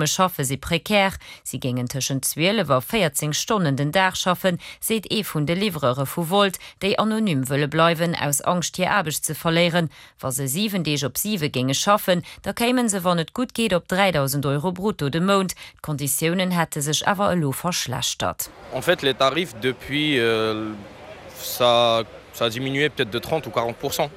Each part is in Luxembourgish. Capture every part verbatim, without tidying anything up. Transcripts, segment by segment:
Schaffe si prekär, si géingen tëschent zwielef a véierzéng Stonnen den Dag schaffen, seet ee vun de Livreure vu Wolt, déi anonym wëlle bleiwen, aus Angscht hir Aarbecht ze verléieren. Wa se siwen Deeg op siwe géinge schaffen, da kéime se wann et gutt geet op dräidausend Euro brutto de Mount. D'Konditiounen hätte sech awer elo verschlechtert. En fait les tarifs depuis ça ça a diminué peut-être de trente ou quarante pour cent.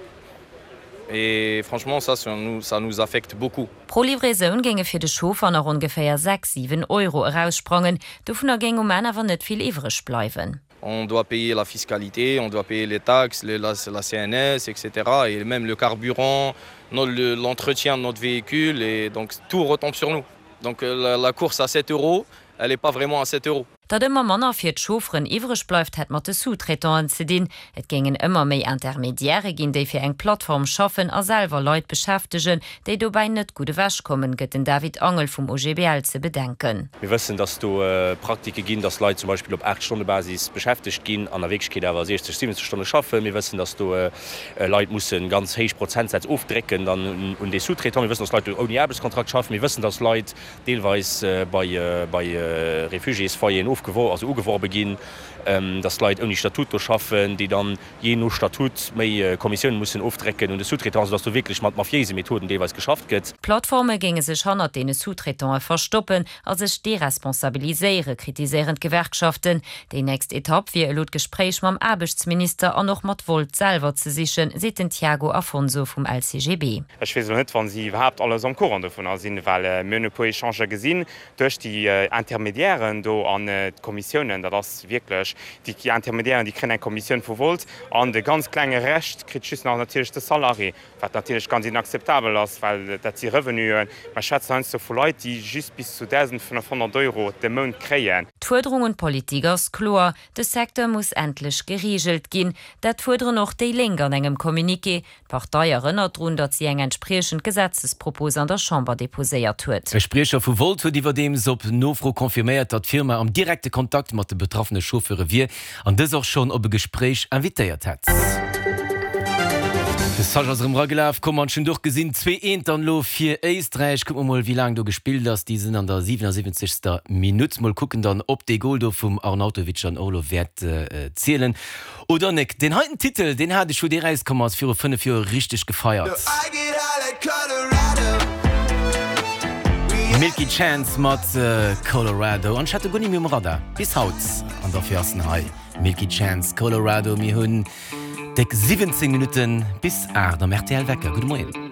Et franchement ça ça nous ça nous affecte beaucoup. Pro Livraisoun géinge fir de Chauffer nach ongeféier sechs, siwen Euro eraussprangen. Dovunner géing um Enn awer net vill iwwreg bleiwen. On doit payer la fiscalité, on doit payer les taxes, les la la C N S et cetera et même le carburant, l'entretien de notre véhicule et donc tout retombe sur nous. Donc la la course à sept euros, elle est pas vraiment à sept euros. Datt ëmmer manner fir d'Chaufferen iwwreg bleift, hätt mat de Sous-traitanten ze dinn. Et géingen ëmmer méi Intermediairë ginn, déi fir eng Plattform schaffen a selwer Leit beschäftegen, déi dobäi net gutt ewechkommen, gëtt den David Angel vum O G B L ze bedenken. Mir wëssen, datt do Praktike ginn, datt Leit zum Beispill op Aacht-Stonne-Basis beschäftegt ginn an a Wierklechkeet awer siechzeg, siwwenzeg Stonne schaffen. Mir wëssen, datt do Leit musse ganz héich Prozentsätz ofdrécken dann un dee Sous-traitant. Mir wëssen, datt Leit do ouni Aarbechtskontrakt schaffen. Mir wëssen, datt Leit deelweis bei bei Refugiésfoyeren ofgewor also ugeworbe ginn, dass Leit ouni Statut do schaffen, déi dann jee no Statut méi Kommissiounen mussen ofdrécken un de Sous-traitant, soudass do wierklech mat mafiéise Methoden deelweis geschafft gëtt. D'Plattforme géinge sech hannert deene Sous-traitante verstoppen a sech deresponsabiliséieren, kritiséieren d'Gewerkschaften. Déi nächst Etapp wier elo d'Gespréich mam Aarbechtsminister an och mat Wolt selwer ze sichen, seet den Tiago Afonso vum L C G B. Ech weess elo net, wa si iwwerhaapt alles am Courant dovunner sinn, well mir hunn e puer Echangen gesinn duerch déi Intermédiairen do an d'Kommissiounen. Dat ass wierklech, déi Intermédiairen, déi kréien eng Kommissioun vu Wolt an de ganz klenge Rescht kritt just nach natierlech de Salarié, wat natierlech ganz inakzeptabel ass, well dat si Revenuen, mer schwätzen heiansdo vu Leit, déi just bis zu dausendfënnefhonnert Euro de Mount kréien. D'Fuerderung un d'Politik ass kloer, De Secteur muss endlech gereegelt ginn. Dat fuerderen och déi Lénk an engem Communiqué. D'Partei erënnert drun, datt si eng entspriechend Gesetzespropos an der Chamber deposéiert huet. E Spriecher vu Wolt huet iwwerdeems op Nofro confirméiert, datt d'Firma am direkte Kontakt mat de betraffene Chauffeure wier an dës och schonn op e Gespréich invitéiert hätt. De Sascha ass erëm eragelaf komm an ech hunn och gesinn, zwee eent dann elo fir Éisträich. Kucke mer mol, wéi laang do gespillt ass. Déi sinn an der siwenassiwwenzegster. Minutt. Mol kucken dann, ob dee Gol do vum Arnautovic an Orlov wäert zielen oder net. Deen heiten Titel, deen hat ech, wou dee rauskomm ass, viru fënnef Joer richteg gefeiert. Milky Chance mat Colorado. An ech hat e guer net méi um Radar bis haut. An dofir ass en hei, Milky Chance, Colorado. Mir hunn déck siwwenzéng Minutten bis aacht am R T L Wecker. Gudde Moien.